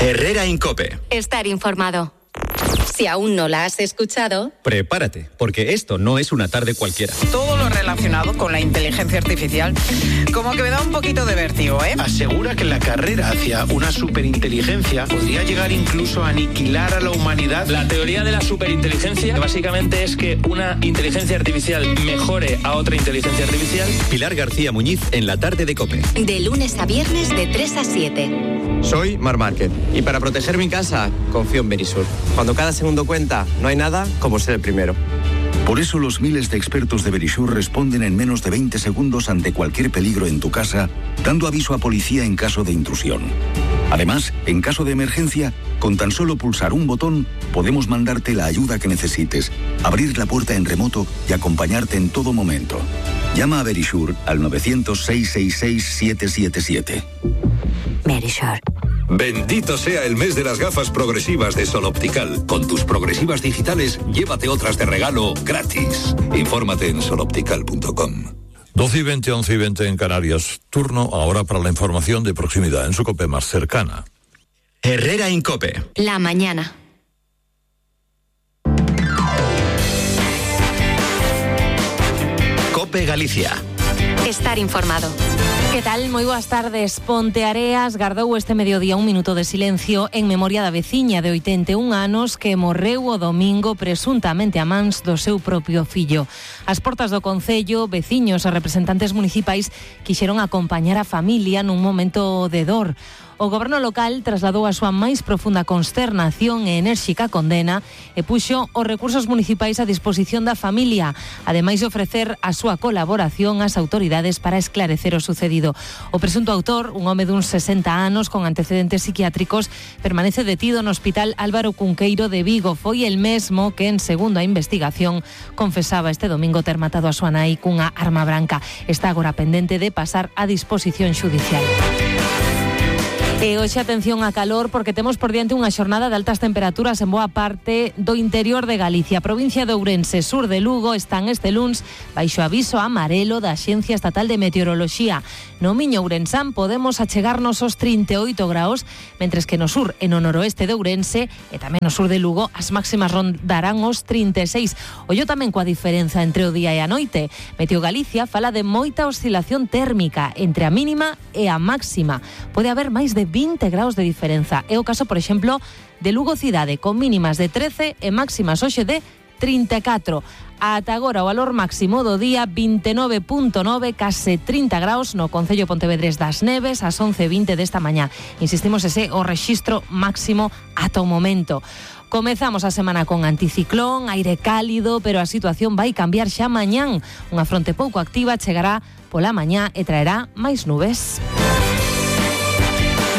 Herrera en COPE. Estar informado. Si aún no la has escuchado, prepárate, porque esto no es una tarde cualquiera. Todo lo relacionado con la inteligencia artificial, como que me da un poquito de vértigo, ¿eh? Asegura que la carrera hacia una superinteligencia podría llegar incluso a aniquilar a la humanidad. La teoría de la superinteligencia básicamente es que una inteligencia artificial mejore a otra inteligencia artificial. Pilar García Muñiz en la tarde de COPE. De lunes a viernes de 3 a 7. Soy Mar Márquez y para proteger mi casa confío en Verisur. Cuando cada segundo cuenta, no hay nada como ser el primero. Por eso los miles de expertos de Verisur responden en menos de 20 segundos ante cualquier peligro en tu casa, dando aviso a policía en caso de intrusión. Además, en caso de emergencia, con tan solo pulsar un botón, podemos mandarte la ayuda que necesites, abrir la puerta en remoto y acompañarte en todo momento. Llama a Verisur al 900-666-777. Verisur. Bendito sea el mes de las gafas progresivas de Sol Optical. Con tus progresivas digitales, llévate otras de regalo gratis. Infórmate en soloptical.com. 12:20, 11:20 en Canarias. Turno ahora para la información de proximidad en su COPE más cercana. Herrera en COPE. La mañana. COPE Galicia. Estar informado. Que tal? Moi boas tardes. Ponteareas gardou este mediodía un minuto de silencio en memoria da veciña de 81 anos que morreu o domingo presuntamente a mans do seu propio fillo. Ás portas do concello, veciños e representantes municipais quixeron acompañar a familia nun momento de dor. O goberno local trasladou a súa máis profunda consternación e enérxica condena e puxo os recursos municipais a disposición da familia, ademais de ofrecer a súa colaboración ás autoridades para esclarecer o sucedido. O presunto autor, un home duns 60 anos con antecedentes psiquiátricos, permanece detido no Hospital Álvaro Cunqueiro de Vigo. Foi el mesmo que, en segundo a investigación, confesaba este domingo ter matado a súa nai cunha arma branca. Está agora pendente de pasar a disposición xudicial. E hoxe atención a calor porque temos por diante unha xornada de altas temperaturas en boa parte do interior de Galicia. Provincia de Ourense, sur de Lugo están este luns baixo aviso amarelo da Axencia Estatal de Meteoroloxía. No Miño Ourensán podemos achegarnos aos 38 graus, mentres que no sur e no noroeste de Ourense e tamén no sur de Lugo as máximas rondarán os 36. Ollo tamén coa diferenza entre o día e a noite. Meteo Galicia fala de moita oscilación térmica entre a mínima e a máxima. Pode haber máis de 20 graus de diferenza. É o caso, por exemplo, de Lugo cidade, con mínimas de 13 e máximas hoxe de 34. Ata agora o valor máximo do día 29.9, case 30 graus no concello Pontevedrés das Neves ás 11:20 desta mañá. Insistimos, ese o rexistro máximo ata o momento. Comezamos a semana con anticiclón, aire cálido, pero a situación vai cambiar xa mañán. Unha fronte pouco activa chegará pola mañá e traerá máis nubes.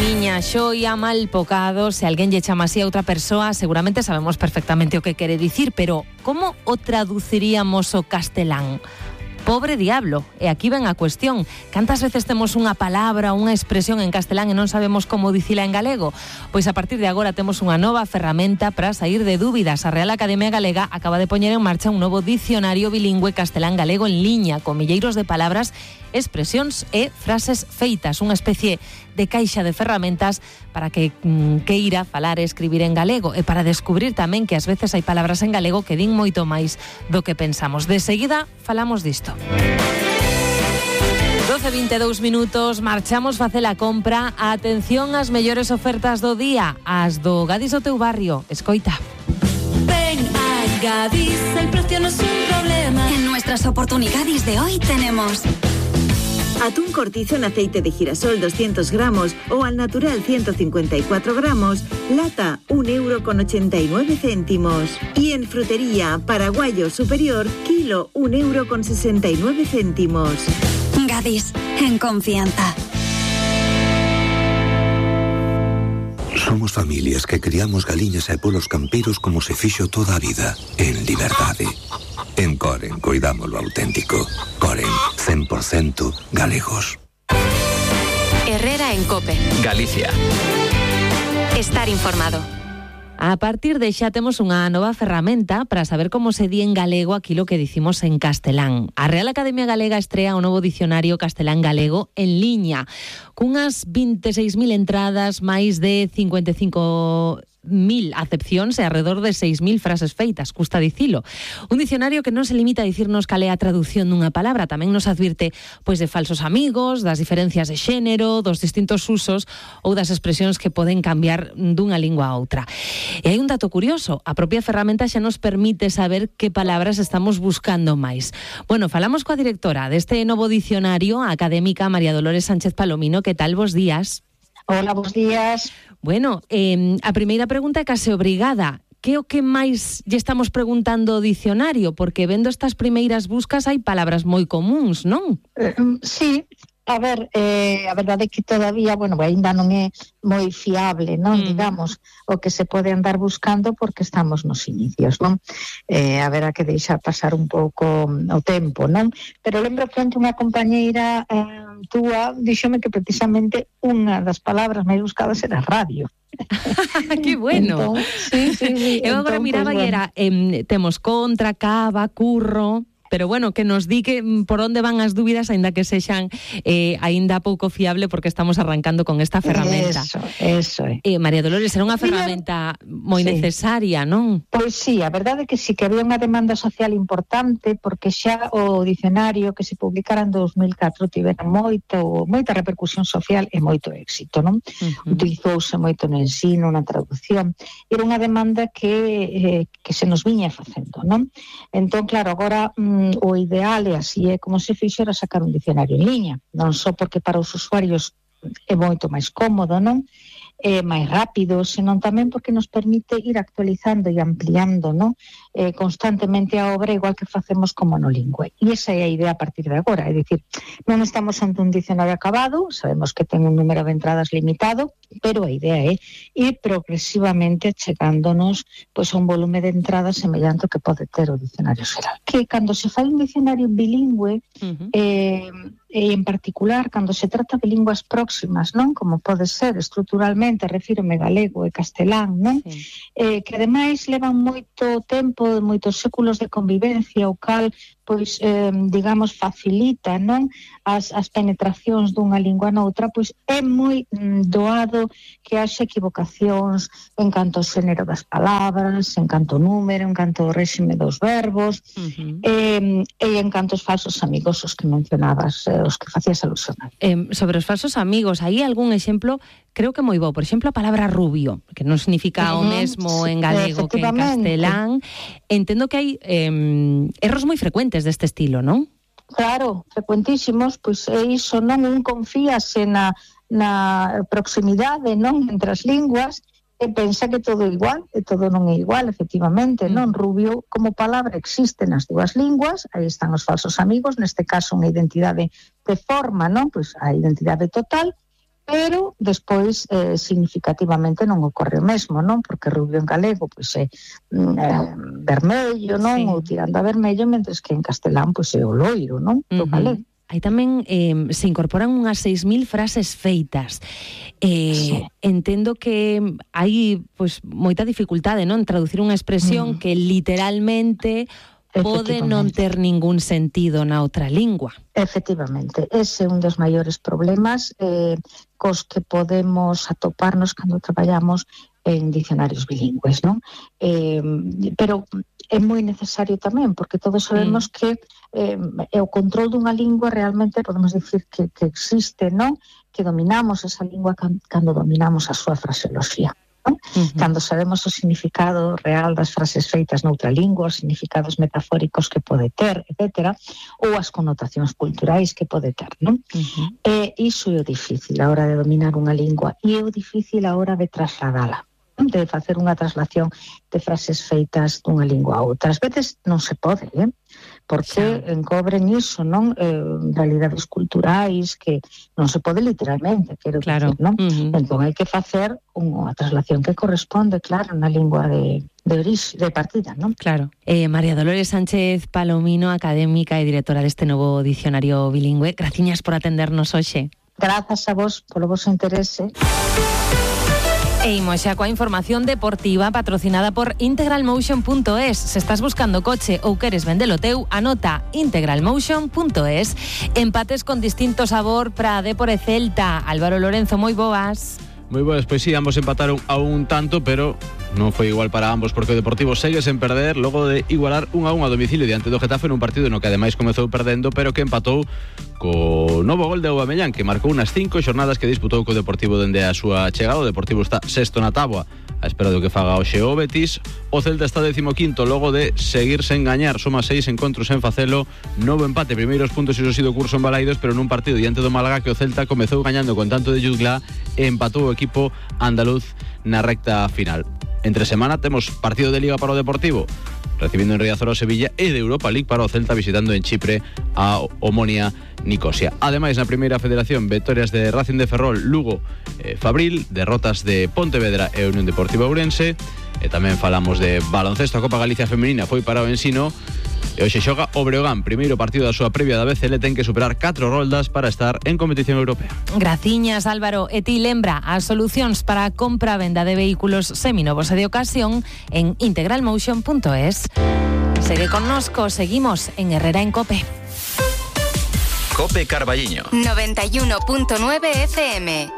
Miña xoia, mal pocado, se alguén lle chama así a outra persoa, seguramente sabemos perfectamente o que quere dicir, pero como o traduciríamos o castelán? Pobre diablo, e aquí ven a cuestión. Cantas veces temos unha palabra, unha expresión en castelán e non sabemos como dicila en galego? Pois a partir de agora temos unha nova ferramenta para sair de dúbidas. A Real Academia Galega acaba de poñer en marcha un novo dicionario bilingüe castelán-galego en liña, con milleiros de palabras, expresións e frases feitas, unha especie de caixa de ferramentas para que queira falar e escribir en galego e para descubrir tamén que ás veces hai palabras en galego que din moito máis do que pensamos. De seguida falamos disto. 12:22 minutos, marchamos facer a compra. Atención ás mellores ofertas do día, as do Gadis do teu barrio. Escoita. Ven a Gadis, el precio no es un problema. En nuestras oportunidades de hoy tenemos atún cortizo en aceite de girasol 200 gramos o al natural 154 gramos, lata 1,89 €. Y en frutería, paraguayo superior, kilo 1,69 €. Gadis, en confianza. Somos familias que criamos galiñas e polos campeiros como se fixo toda a vida, en liberdade. En Coren cuidamos lo auténtico. Coren, 100% galegos. Herrera en COPE. Galicia. Estar informado. A partir de xa temos unha nova ferramenta para saber como se di en galego aquilo que dicimos en castelán. A Real Academia Galega estrea o novo dicionario castelán-galego en liña, cunhas 26.000 entradas, máis de 55.000 acepcións e alrededor de 6.000 frases feitas, custa dicilo. Un dicionario que non se limita a dicirnos cal é a traducción dunha palabra, tamén nos advirte pois de falsos amigos, das diferencias de xénero, dos distintos usos ou das expresións que poden cambiar dunha lingua a outra. E hai un dato curioso, a propia ferramenta xa nos permite saber que palabras estamos buscando máis. Bueno, falamos coa directora deste novo dicionario, a académica María Dolores Sánchez Palomino. Que tal, bos días? Hola, bos días. Bueno, a primeira pregunta é case obrigada. Que o que máis lle estamos preguntando ao dicionario? Porque vendo estas primeiras buscas hai palabras moi comuns, non? Sí. A ver, a verdade é que todavía, ainda non é moi fiable, non? Digamos, o que se pode andar buscando porque estamos nos inicios, non? Haberá que deixar pasar un pouco o tempo, non? Pero lembro que onte unha compañeira túa díxome que precisamente unha das palabras máis buscadas era radio. Que bueno. Entón, sí. Eu agora miraba e era temos contra, cava, curro. Pero bueno, que nos di que por onde van as dúbidas, aínda que sexan aínda pouco fiable, porque estamos arrancando con esta ferramenta. Eso é. María Dolores, era unha ferramenta moi necesaria, non? Pois sí, a verdade é que sí que había unha demanda social importante, porque xa o dicionario que se publicara en 2004 tivera moita repercusión social e moito éxito, non? Utilizouse moito no ensino, na traducción. Era unha demanda que se nos viña facendo, non? Entón, claro, agora o ideal é así, é como se fixera sacar un dicionario en liña, non só porque para os usuarios é moito máis cómodo, non? É máis rápido, senón tamén porque nos permite ir actualizando e ampliando, non? Constantemente a obra, igual que facemos como no lingüe. E esa é a idea a partir de agora, é dicir, non estamos ante un dicionario acabado, sabemos que ten un número de entradas limitado, pero a idea é ir progresivamente chegándonos pois, a un volume de entradas semellante ao que pode ter o dicionario xeral. Que cando se fai un dicionario bilingüe, e en particular cando se trata de linguas próximas, non? Como pode ser estruturalmente, refírome galego e castelán, non? Que ademais levan moito tempo, moitos séculos de convivencia, o cal pois, digamos, facilita, non? As penetracións dunha lingua noutra, pois é moi doado que haxa equivocacións en canto ao xénero das palabras, en canto ao número, en canto ao réxime dos verbos, e en canto aos falsos amigos, os que mencionabas, os que facías alusión. Sobre os falsos amigos, hai algún exemplo, creo que moi bo, por exemplo, a palabra rubio, que non significa o mesmo en galego que en castelán. Entendo que hai erros moi frecuentes deste estilo, non? Claro, frecuentísimos, pois é iso, non? Un confíase na proximidade, non? Entre as linguas, e pensa que todo é igual, e todo non é igual, efectivamente, non? Rubio como palabra existe nas dúas linguas, aí están os falsos amigos, neste caso unha identidade de forma, non? Pois a identidade total, pero despois significativamente non ocorre o mesmo, non? Porque rubio en galego pois é vermello, non? Ou tirando a vermello, mentres que en castelán pois é o loiro, non? Do galego. Aí tamén se incorporan unhas 6.000 frases feitas. Entendo que hai pois moita dificultade, non? Traducir unha expresión que literalmente pode non ter ningún sentido na outra lingua. Efectivamente, ese é un dos maiores problemas cos que podemos atoparnos cando traballamos en dicionarios bilingües, non? Pero é moi necesario tamén, porque todos sabemos que o control dunha lingua realmente podemos dicir que existe, non? Que dominamos esa lingua cando dominamos a súa fraseoloxía. Cando sabemos o significado real das frases feitas noutra lingua, os significados metafóricos que pode ter, etc., ou as connotacións culturais que pode ter, non? Iso é o difícil a hora de dominar unha lingua, e é o difícil a hora de trasladala, de facer unha traslación de frases feitas dunha lingua a outra. Ás veces non se pode, porque encobren iso, non? Realidades culturais que non se pode literalmente, quero dicir, non? Entón hai que facer unha traslación que corresponde, claro, na lingua de orixe, de partida, non? Claro. María Dolores Sánchez Palomino, académica e directora deste novo dicionario bilingüe, graciñas por atendernos hoxe. Grazas a vos polo vosso interese. E imos xa coa información deportiva patrocinada por integralmotion.es. Se estás buscando coche ou queres vendelo teu, anota integralmotion.es. Empates con distinto sabor para Dépor e Celta. Álvaro Lorenzo, moi boas. Moi boas, pois sí, ambos empataron a un tanto, pero non foi igual para ambos porque o Deportivo segue sen perder logo de igualar 1-1 a domicilio diante do Getafe nun partido no que ademais comezou perdendo, pero que empatou co novo gol de Aubameyang, que marcou unas 5 xornadas que disputou co Deportivo dende a súa chegada. O Deportivo está sexto na táboa a espera do que faga hoxe o Betis. O Celta está 15º logo de seguir sen gañar, soma 6 encontros sen facelo, novo empate, primeiros puntos iso sido curso en Balaidos, pero nun partido diante do Málaga que o Celta comezou gañando con tanto de Jude Glá e empatou o equipo andaluz na recta final. Entre semana temos partido de Liga para o Deportivo, recibindo en Riazor o Sevilla, e de Europa League para o Celta visitando en Chipre a Omonia Nicosia. Ademais, na primeira federación, vitorias de Racing de Ferrol, Lugo, Fabril, derrotas de Pontevedra e Unión Deportiva Ourense, e tamén falamos de baloncesto. A Copa Galicia Femenina foi para o Ensino, e hoxe xoga o Breogán, primeiro partido da súa previa da BCL, ten que superar 4 roldas para estar en competición europea. Graciñas, Álvaro. E ti lembra as solucións para a compra-venda de vehículos seminovos e de ocasión en integralmotion.es. Segue connosco, seguimos en Herrera en Cope. Cope Carballiño 91.9 FM.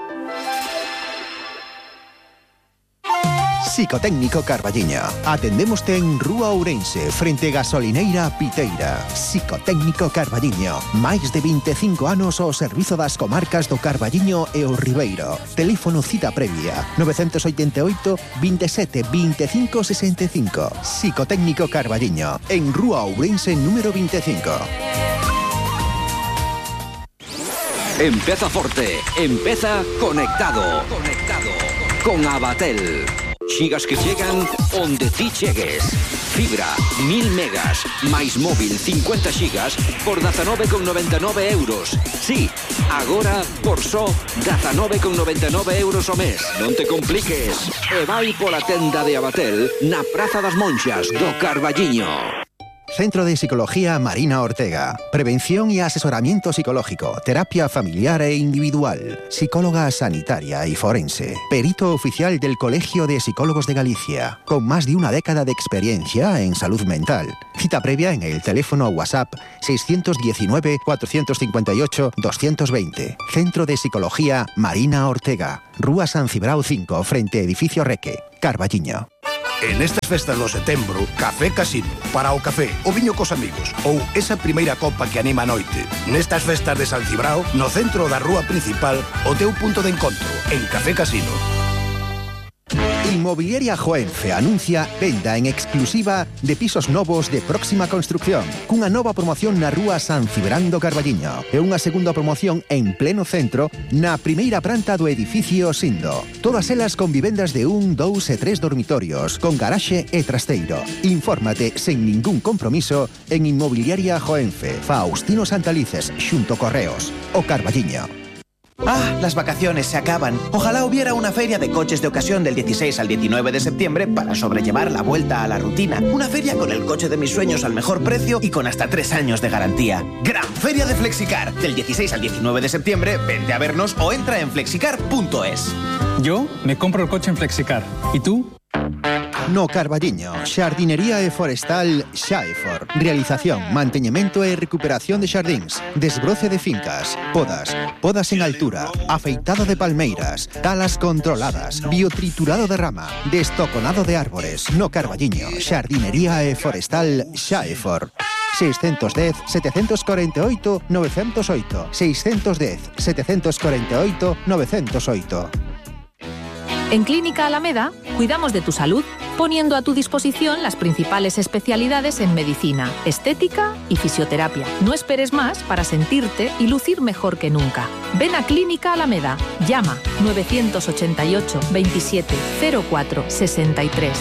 Psicotécnico Carballiño. Atendémoste en Rúa Ourense, frente Gasolineira Piteira. Psicotécnico Carballiño. Máis de 25 anos ao servizo das comarcas do Carballiño e o Ribeiro. Teléfono cita previa 988 27 25 65. Psicotécnico Carballiño. En Rúa Ourense número 25. Empeza forte, empeza conectado. Con Abatel. Xigas que chegan onde ti chegues. Fibra, 1000 megas, máis móvil 50 xigas por 19,99 euros. Sí, agora por só 19,99 euros ao mes. Non te compliques. E vai pola tenda de Abatel na Praza das Monxas do Carballiño. Centro de Psicología Marina Ortega. Prevención y asesoramiento psicológico, terapia familiar e individual, psicóloga sanitaria y forense, perito oficial del Colegio de Psicólogos de Galicia, con más de una década de experiencia en salud mental. Cita previa en el teléfono WhatsApp 619 458 220. Centro de Psicología Marina Ortega. Rúa San Cibrao 5, frente Edificio Reque, Carballiño. En estas festas do setembro, Café Casino, para o café, o viño cos amigos ou esa primeira copa que anima a noite. Nestas festas de San Cibrao, no centro da rúa principal, o teu punto de encontro, en Café Casino. Inmobiliaria Joenfe anuncia venda en exclusiva de pisos novos de próxima construcción, cunha nova promoción na rúa San Cibrán do Carballiño e unha segunda promoción en pleno centro na primeira planta do edificio Sindo. Todas elas con vivendas de 1, 2 e 3 dormitorios, con garaxe e trasteiro. Infórmate sen ningún compromiso en Inmobiliaria Joenfe, Faustino Santalices, xunto Correos, o Carballiño. Ah, las vacaciones se acaban. Ojalá hubiera una feria de coches de ocasión del 16 al 19 de septiembre para sobrellevar la vuelta a la rutina. Una feria con el coche de mis sueños al mejor precio y con hasta 3 años de garantía. Gran Feria de Flexicar. Del 16 al 19 de septiembre, vente a vernos o entra en flexicar.es. Yo me compro el coche en Flexicar. ¿Y tú? No Carballiño, Xardinería e Forestal Xaefor. Realización, manteñemento e recuperación de xardíns, desbroce de fincas, podas en altura, afeitado de palmeiras, talas controladas, biotriturado de rama, destoconado de árbores. No Carballiño, Xardinería e Forestal Xaefor. 610 748 908. 610 748 908. En Clínica Alameda, cuidamos de tu salud, poniendo a tu disposición las principales especialidades en medicina, estética y fisioterapia. No esperes más para sentirte y lucir mejor que nunca. Ven a Clínica Alameda. Llama 988 27 04 63.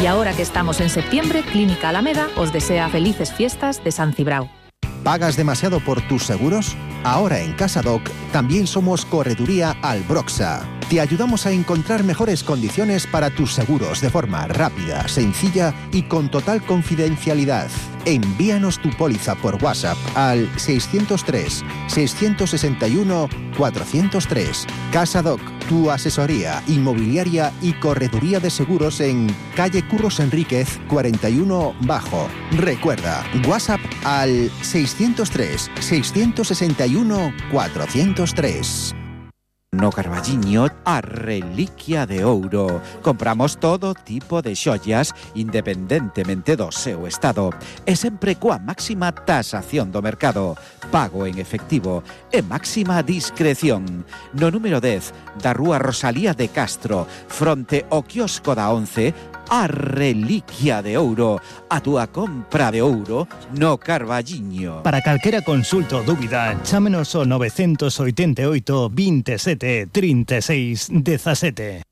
Y ahora que estamos en septiembre, Clínica Alameda os desea felices fiestas de San Cibrao. ¿Pagas demasiado por tus seguros? Ahora en Casadoc también somos Correduría Albroxa. Te ayudamos a encontrar mejores condiciones para tus seguros de forma rápida, sencilla y con total confidencialidad. Envíanos tu póliza por WhatsApp al 603-661-403. CasaDoc, tu asesoría inmobiliaria y correduría de seguros en calle Curros Enríquez 41 Bajo. Recuerda, WhatsApp al 603-661-403. No Carballiño, a reliquia de ouro. Compramos todo tipo de xoias independentemente do seu estado e sempre coa máxima tasación do mercado, pago en efectivo e máxima discreción. No número 10 da rúa Rosalía de Castro, fronte ao quiosco da 11, a reliquia de ouro, a túa compra de ouro no Carballiño. Para calquera consulta ou dúbida, chámenos ao 988 27 36 17.